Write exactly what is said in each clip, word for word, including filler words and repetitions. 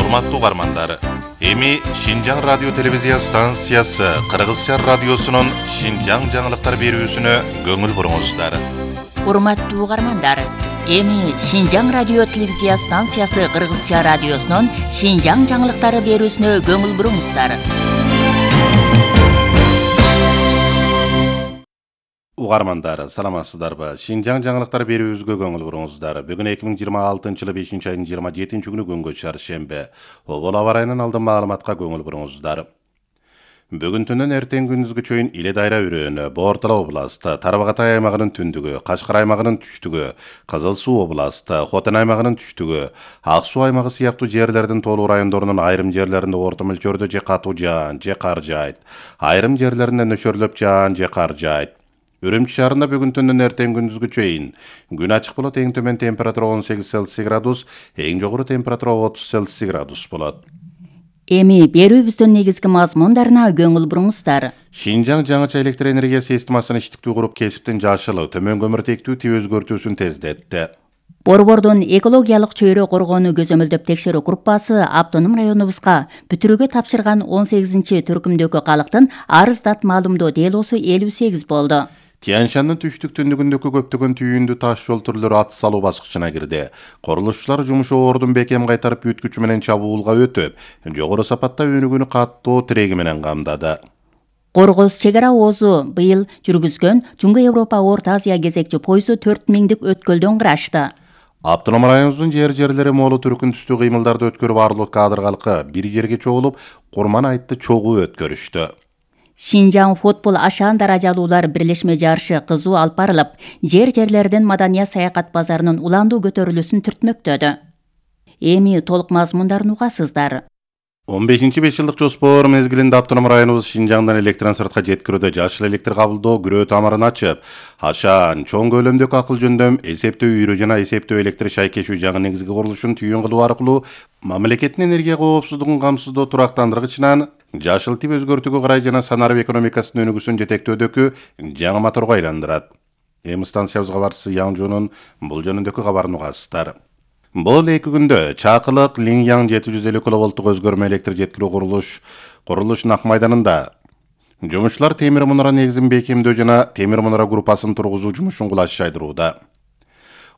Урматтуу угармандар, эми Шинжаң радио телевизия станциясы Кыргызча радиосунун Шинжаң жаңылыктар берүүсүнө көңүл буруңуздар. Урматтуу угармандар, эми Шинжаң радио телевизия станциясы Кыргызча радиосунун Шинжаң жаңылыктары берүүсүнө көңүл буруңуздар. Угармандар, саламатсыздарбы? Шинжаң жаңылыктар берүүбүзгө көңүл буруңуздар. Бүгүн эки миң жыйырма алтынчы жылы бешинчи айдын жыйырма жетинчи күнү күнгө чаршембе. Обол аба ырайынын алдын маалыматка көңүл буруңуздар. Бүгүн түнүн эртең күндүзгү чейин Иле Дайра өрөөнү, Боортала областы, Тарбагатай аймагынын түндүгү, Кашкар аймагынын түштүгү, Кызыл Суу областы, Хотон аймагынын түштүгү, Ак Суу аймагы сыяктуу жерлердин тоолуу райондорунун айрым жерлеринде орто мөлчөрдө же катуу жаан, же кар жаайт. Айрым жерлеринде нөчөрлөп жаан же кар жаайт. Үрүмчү шаарында бүгүн түндүн эртең күндүзгү чейин күн ачык болот, эң төмөн температура он сегиз Цельсий градус, эң жогору температура отуз Цельсий градус болот. Эми берүүбүздүн негизги мазмундарына көңүл буруңуздар. Шинжаң жаңыча электр энергия системасын иштиктүү куруп, кесиптин жашылы, төмөн көмүртектүү тип өзгөртүүсүн тездетти. Борбордун экологиялык чөйрө коргоону көзөмөлдөп текшерүү группасы автоном районубузга бүтүрүүгө тапшырган он сегизинчи түркүмдөгү калктын арыздат маалымдоо делосу элүү сегиз болду. Тянь-Шандын түштүк түндүгүндөгү көптөгөн түйүндүү таш жол түрлөрү ат салуу баскычына кирди. Курулушчулар жумушу ордун бекем кайтарып бүткүчү менен чабуулга өтүп, жогору сапатта өнүгүүнү каттоо тиреги менен камдады. Коргоз чек ара оозу быйыл жүргүзгөн Жунга Европа Орто Азия кезекчи пойызу төрт миңдик өткөлдөн кырашты. Автоном районубуздун жер-жерлери моолу түркүн түстүү кыймылдарды өткөрүп, арлык кадыр калкы бир жерге чогулуп, Курман айтты чогуу өткөрүштү. Шинжаң футбол ашаан даражалуулар бирлешме жарышы кызуу алып барылып, жер-жерлердин маданият саякат базарынын уландуу көтөрүлүүсүн түртмөктөдү. Эми толук мазмундарын угасыздар. он бешинчи беш жылдык жоспор мезгилинде автоном районубуз Шинжаңдан электрон сыртка жеткирүүдө жашыл электр кабылдоо күрөө тамырын ачып, ашаан чоң көлөмдөгү акыл жөндөм, эсептөө үйрү жана эсептөө электр шайкешүү жаңы негизги курулушун түйүн кылуу аркылуу мамлекеттин энергия коопсуздугун камсыздоо турактандыргычынан жашыл тип өзгөртүүгө карай жана санарып экономикасынын өнүгүүсүн жетектөөдөгү жаңы моторго айландырат. Эми станциябыз кабарчысы Яңжунун бул жөнүндөгү кабарын угасыздар. Бул эки күндө Чакылык Линьяң жети жүз элүү киловолттук өзгөрмө электр жеткирүү курулуш курулуш Нак майданында жумушчулар темир мунара негизин бекемдөө жана темир мунара группасын тургузуу жумушун кулаш жайдырууда.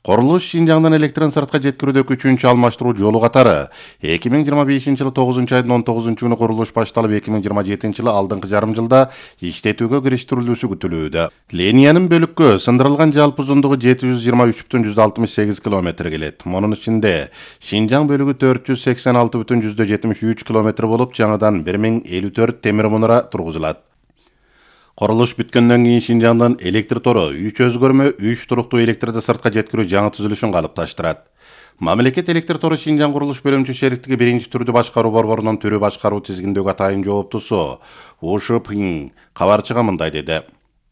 Курулуш Шинжаңдан электрон сыртка жеткирүүдөгү үчүнчү алмаштыруу жолу катары эки миң жыйырма бешинчи жылы тогузунчу айдын он тогузунчу күнү курулуш башталып, эки миң жыйырма жетинчи жылы алдыңкы жарым жылда иштетүүгө кириштирилүүсү күтүлүүдө. Линиянын бөлүккө сындырылган жалпы узундугу жети жүз жыйырма үч бүтүн жүз алтымыш сегиз километр келет. Мунун ичинде Шинжаң бөлүгү төрт жүз сексен алты бүтүн жүз жетимиш үч километр болуп, жаңыдан бир миң элүү төрт темир мунара тургузулат. Курулуш бүткөндөн кийин Шинжаңдан электр тору үч өзгөрмө үч туруктуу электрди сыртка жеткирүү жаңы түзүлүшүн калыпташтырат. Мамлекет электр тору Шинжаң курулуш бөлүмчө шериктиги биринчи түрдүү башкаруу борборунун түрү башкаруу тизгиндеги атайын жооптусу Ушупин кабарчыга мындай деди.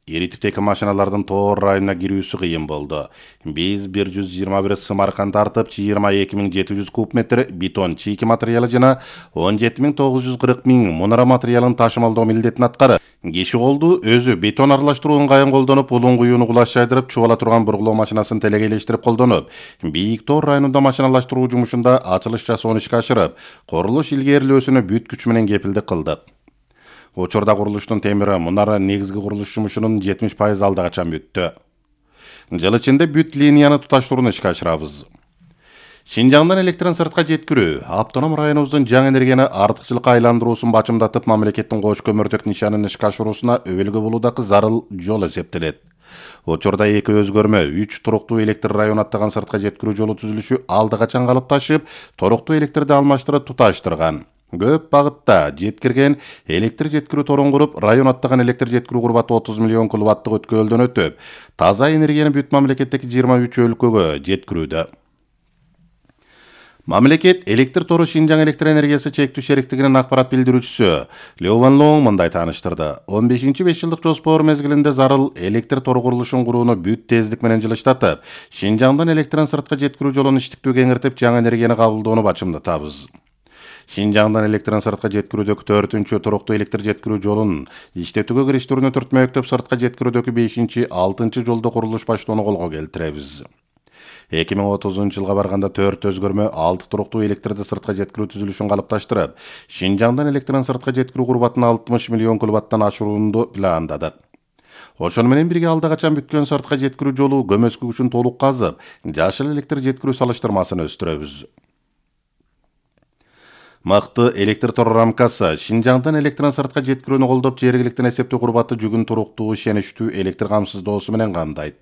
Ири типтеги машиналардын Тоор районуна кирүүсү кыйын болду. Биз бир жүз жыйырма бир сымаркан тартып, жыйырма эки миң жети жүз куб метр бетон чийки материалы жана он жети миң тогуз жүз кырк миң мунара материалын ташымалдоо милдетин аткарып, киши колду өзү бетон аралаштыруу ыңгайын колдонуп, улун куюуну кулаш жайдырып, чубала турган бургулоо машинасын телегейлештирип колдонуп, Бийик Тоор районунда машиналаштыруу жумушунда ачылыш жасоону ишке ашырып, курулуш илгерилөөсүнө бүт күч менен кепилдик кылдык. Учурда курулуштун темир мунара негизги курулуш жумушунун жетимиш пайызы алда качан бүттү. Жыл ичинде бүт линияны туташтырууну ишке ашырабыз. Шинжаңдан электрон сыртка жеткирүү автоном районубуздун жаңы энергияны артыкчылыкка айландыруусун бачымдатып, мамлекеттин кош көмүртөк нишанын ишке ашыруусуна өбөлгө болуудагы зарыл жол эсептелет. Учурда эки өзгөрмө үч туруктуу электр район аттаган сыртка жеткирүү жолу түзүлүшү алда качан калыпташып, туруктуу электрди алмаштырып туташтырган. Көп багытта жеткирген электр жеткирүү торун куруп, район аттаган электр жеткирүү курбаты отуз миллион киловаттык өткөлдөн өтүп, таза энергияны бүт мамлекеттеги жыйырма үч өлкөгө жеткирүүдө. Мамлекет электр тору Шинжаң электр энергиясы чектүү шериктигинин акпарат билдирүүчүсү Лю Ванлоң мындай тааныштырды. он бешинчи беш жылдык жоспор мезгилинде зарыл электр тору курулушун курууну бүт тездик менен жылыштатып, Шинжаңдан электрон сыртка жеткирүү жолун иштиктүү кеңиртип, жаңы энергияны кабылдоону бачымдатабыз. Шинжаңдан электрон сыртка жеткирүүдөгү төртүнчү туруктуу электр жеткирүү жолун иштетүүгө кириштирүүнү түртмөктөп, сыртка жеткирүүдөгү бешинчи алтынчы жолдо курулуш баштоону колго келтиребиз. эки миң отузунчу жылга барганда төрт өзгөрмө алты туруктуу электрди сыртка жеткирүү түзүлүшүн калыпташтырып, Шинжаңдан электрин сыртка жеткирүү курбатын алтымыш миллион киловаттан ашырууну пландадык. Ошону менен бирге алда качан бүткөн сыртка жеткирүү жолу көмөскө күчүн толук казып, жашыл электр жеткирүү салыштырмасын өстүрөбүз. Мыкты электр тор рамкасы Шинжаңдан электрин сыртка жеткирүүнү колдоп, жергиликтен эсептөө курбаты жүгүн туруктуу, ишеничтүү электр камсыздоосу менен камдайт.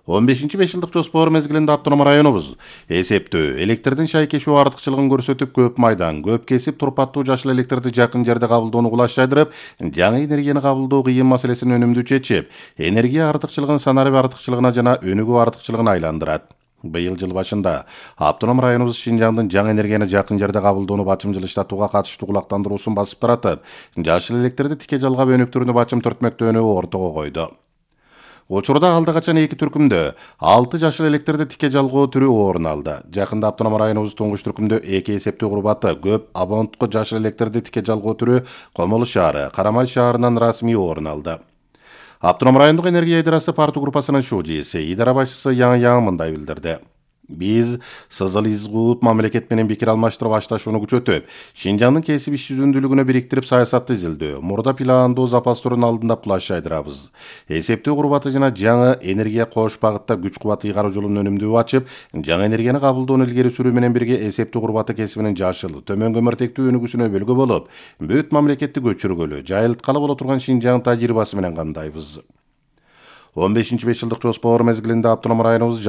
он бешинчи беш жылдык жоспор мезгилинде автоном районубуз эсептөө электрдин шайкешүү артыкчылыгын көрсөтүп, көп майдан, көп кесип турпаттуу жашыл электрди жакын жерде кабылдоону кулаш жайдырып, жаңы энергияны кабылдоо кыйын маселесин өнүмдүү чечип, энергия артыкчылыгын санарип артыкчылыгына жана өнүгүү артыкчылыгына айландырат. Быйыл жыл башында автоном районубуз Шинжаңдын жаңы энергияны жакын жерде кабылдоону бачым жылыштатууга катыштуу кулактандыруусун басып таратып, жашыл электрди тике жалгап өнүктүрүүнү бачым түртмөктөөнү ортого койду. Учурда алда качан эки түркүмдө алты жашыл электрди тике жалгоо түрү орун алды. Жакында автоном районубуз туңгуч түркүмдө эки эсептөө курбаты көп абоненттук жашыл электрди тике жалгоо түрү Комолу шаары, Карамай шаарынан расмий орун алды. Автоном райондук энергия идарасы парту группасынын шужиси, идара башчысы Яң Яң мындай билдирди. Биз сызыл изгуут мамлекет менен пикир алмаштырып башташууну күчөтүп, Шинжаңдын кесип иш жүзүндүүлүгүнө бириктирип саясатты изилдөө, мурда пландоо запастырын алдында кулаш жайдырабыз. Эсептөө курбаты жана жаңы энергия кош багытта күч кубат ыйгаруу жолун өнүмдүү ачып, жаңы энергияны кабылдоону илгери сүрүү менен бирге эсептөө курбаты кесибинин жашыл, төмөн көмүртектүү өнүгүүсүнө өбөлгө болуп, бүт мамлекетти көчүргөлү, жайылткалы боло турган Шинжаң тажрыйбасы менен кандайбыз. он бешинчи беш жылдык жоспор мезгилинде автоном районубуз